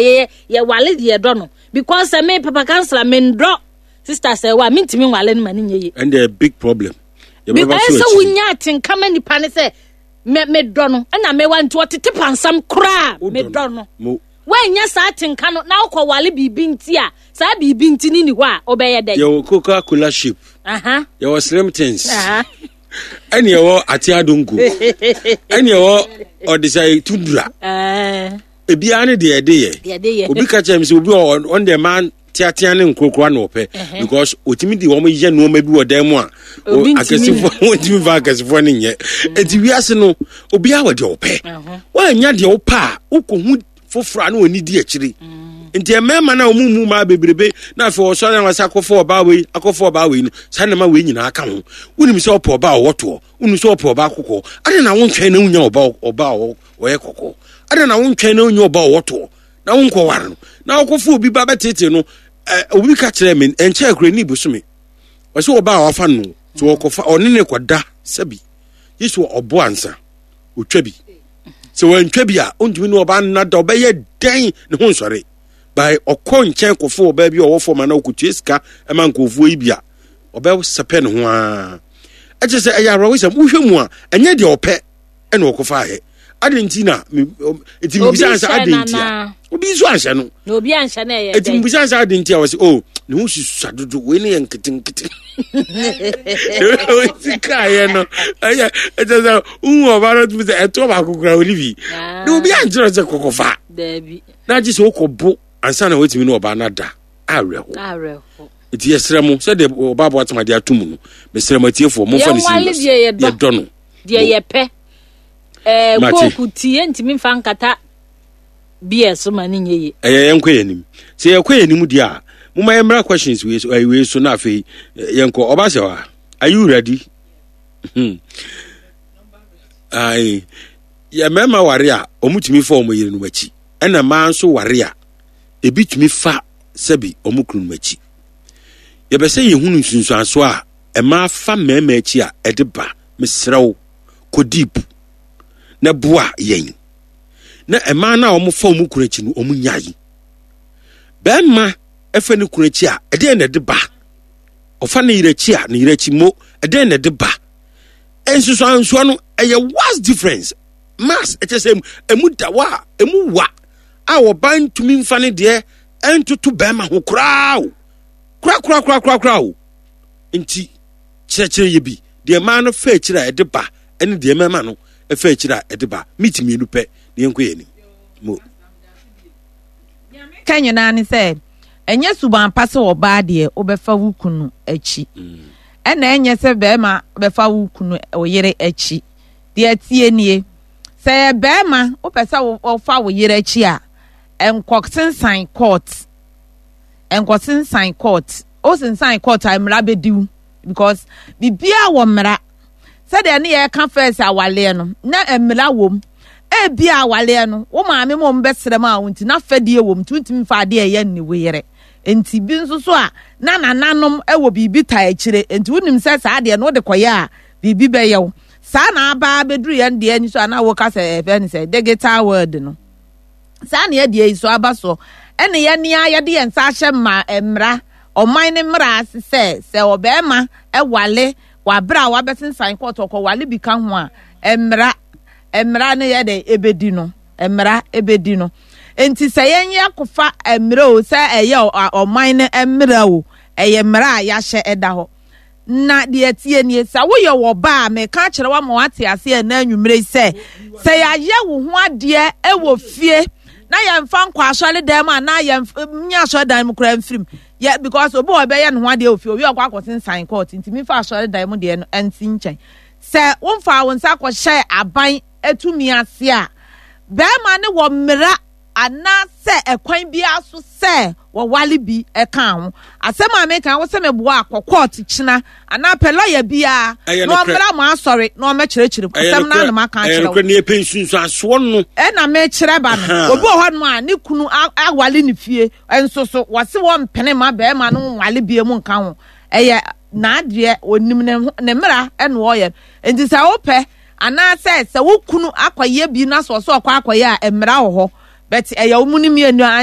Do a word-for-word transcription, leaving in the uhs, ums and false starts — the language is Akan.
Yɛ yɛwale deɛ yɛdɔ no, because sɛ me papa counsellor mendɔ sister sɛ wa mentumi nwale no ma ne nyɛ yie. And a big problem. Because sɛ wonya atenka ma nipa ne sɛ me medɔ no, ɛna mewa nti ɔtete pansam koraa medɔ no. Woanya saa atenka no na wokɔwale biribi nti a, saa biribi nti ne ni hɔ a, wobɛyɛ dɛn? Yɛwɔ Coca Cola shape, yɛwɔ slim things, ɛne ɛwɔ ate adonko, ɛne ɛwɔ ɔdesa tundra. Ebiara ne deɛ ɛde yɛ. Obi ka kyerɛ mi sɛ obi wɔ ɔn deɛ maa teatea ne nkorokoro na ɔpɛ, because otumi de wɔn yɛ nneɛma bi wɔ dan mu a akɛsefoɔ wɔntumi fa akɛsefoɔ ne nyɛ. Eti wiase no, obiara wɔ deɛ ɔpɛ. Wɔanya deɛ ɔpɛ a, wokɔhu foforɔ a na wɔn di akyire. Nti mmarima no a wɔn mu maa bebrebe na afei wɔsɔre na wɔsɛ akɔfɔ ɔbaa wei, akɔfɔ ɔbaa wei no, saa nneɛma wei nyinaa ka ho. Wonim sɛ ɔpɛ ɔbaa a ɔwɔ toɔ, wonim sɛ ɔpɛ ɔbaa kɔkɔɔ, ade na wontwɛn na wonya ɔbaa ɔbaa a ɔyɛ kɔkɔɔ? Ade na wontwɛn na wonya ɔbaa a ɔwɔ toɔ na wonkɔware no na wokɔfo obi ba bɛtete no? Ɛ, obi ka kyerɛ me ɛnkyɛn kura ni bosome, ɔsɛ ɔbaa a wafa no so, wɔkɔfa ɔne ne kɔda sɛbi yesu ɔbo ansa otwa bi sɛ wantwa bi a, ɔntumi ne ɔbaa nna da. Ɔbɛyɛ dɛn ne ho nsɔre by ɔkɔ nkyɛn kɔfo ɔbaa bi a ɔwɔ fam ana ɔkɔtua sika ma nkurɔfoɔ yi bi a ɔbɛsɛpɛ ne ho ara. Ɛkyɛ sɛ ɛyɛ awerɛhosɛm. Wohwɛ mu a, ɛnyɛ deɛ ɔpɛ ɛna ɔkɔfa ayɛ ade nti na nti mibisa sɛ ade nti a obi nso anhyɛ no. Na obi anhyɛ no, ɛyɛ nti mibisa sɛ ade nti a wɔsɛ o ne ho susua dodo wei ne yɛ nketenkete si kaayɛ no. Ɛyɛ ɛkyɛ sɛ wohu ɔba no tumi sɛ ɛtoɔ baako kora wɔne bi na obi ankyerɛ sɛ kɔkɔfa na agye sɛ wokɔbo ansa na woatumi ne ɔbaa no ada. Awerɛho. Nti yɛsrɛ mo, sɛdeɛ ɔbaa boatema de ato mu no, mesrɛ mo atiefoɔ, momfa no serious. Yɛdɔ no. Deɛ yɛpɛ ɛɛ kooku ti yɛntumi nfa nkata beer so ma ne nyɛ yie. Ɛyɛ yɛnkɔ yɛn anim. Sɛ yɛkɔ yɛn anim deɛ a, momma yɛmmra questions wei so, ɛyi wei so, na afei yɛnkɔ. Ɔba sɛ wa, are you ready? Hmm. Ayi, yɛ mmarima ware a, wɔn fa wɔn yerenom akyi, ɛna mmaa nso ware a, ebi tumi fa sɛbi wɔn kununom akyi. Yɛbɛ sɛ yɛhunu nsunsuanso a mmaa fa mmarima akyi a ɛde ba. Mesrɛ wo, kɔ deep na boa yɛn na mmaa no a wɔfa wɔn kunu akyi no, wɔn nyae. Bɛrima ɛfa ne kunu akyi a, ɛdeɛn na ɛde ba? Ɔfa ne yere akyi a, ne yere akyi mo, ɛdeɛn na ɛde ba? Nsusuansoɔ no ɛyɛ vast difference mass. Ɛkyɛ sɛ emu da hɔ a, emu wa a, ɔbaa ntumi nfa ne deɛ ɛntoto bɛrima ho koraa o, koraa koraa koraa koraa o. Nti kyerɛkyerɛ yɛ bi deɛ mmaa no fa akyire a ɛde ba, ɛne deɛ mmarima no fa akyire a ɛde ba. Meet mmienu pɛ na yɛnkɔ yɛn anim mo. Ka nyinaa ne sɛ ɛnyɛ suban pa sɛ ɔbaa deɛ wobɛfa wo kunu akyi, ɛna ɛnyɛ sɛ bɛrima bɛfa wo kunu, wo yere akyi. Deɛ tie nie, sɛ yɛ bɛrima wopɛ sɛ wofa wo yere akyi a, ɛnkɔ court, ɛnkɔ court. Wosensan court a, mmara bɛdi wo, because biribiara wɔ mmara. Sɛdeɛ ne yɛka first awaleɛ no, na mmara wɔ mu. Ebi a awaleɛ no, wo maame ma ɔmo bɛsrɛ mu a, wo nti na fɛdeɛ wɔ mu, nti wontumi fa adeɛ ɛyɛ ne wo yere. Nti bi nso so a, na nananom wɔ biribi ta akyire, nti wonim sɛ saa adeɛ no wode kɔyɛ a, biribi bɛyɛ wo. Saa na aba abɛduru yɛn deɛ ni so a, na woka sɛ ɛfɛ ne sɛ digital world no, saa na yɛdeɛ yi so aba soɔ. Ɛne yɛn nea yɛde yɛn nsa ahyɛ mma mmara, ɔman ne mmara ase sɛ sɛ ɔbɛrima ɛwale wabere a wabɛsensan court, ɔkɔwale bi ka ho a, mmara mmara no yɛ dɛ ebedi no, mmara ebedi no. Nti sɛ yɛn yɛ akɔfa mmara o, sɛ ɛyɛ ɔman no mmara o, ɛyɛ mmara a yɛahyɛ ɛda hɔ. Na deɛ tie nie, sɛ woyɛ wɔ ba a, meka kyerɛ wa ma wate ase ɛna anwummerɛ yi sɛ sɛ yɛayɛ wo ho adeɛ ɛwɔ fie na yɛmfa nkɔ asɔre dan mu anaa yɛmfa nyɛ asɔre dan mu koraa mfirim yɛ, because obi wɔ bɛyɛ ne ho adeɛ wɔ fie, obi ɔkɔ akɔsensan court, nti mefa asɔre dan mu deɛ no ɛnsi nkyɛn. Sɛ womfa wo nsa akɔhyɛ aban atumi ase a, bɛrima ne wɔ mmara anaasɛ ɛkwan biara so sɛ wɔwale bi ɛka ho asɛm a meka wo sɛ meboa akɔ court kyena anaa pɛ lɔya biara na ɔmmra mo asɔre na ɔmmɛkyerɛkyerɛ mu asɛm no anam aka akyerɛ wo. Ne yɛpɛ nsunsuansoɔ no. Ɛna mekyerɛ ba no, obi wɔ hɔ a ne kunu awale ne fie nso so wɔse wɔmpene ma bɛrima no nwale bie mu nka ho. Ɛyɛ n'adeɛ, onim ne ne mmara ɛna ɔyɛ. Nti sɛ wopɛ anaasɛ sɛ wo kunu akɔyɛ bi na sɛ ɔsɛ ɔkɔ akɔyɛ a, mmara wɔ hɔ, but ɛyɛ wo mu no mmienu a.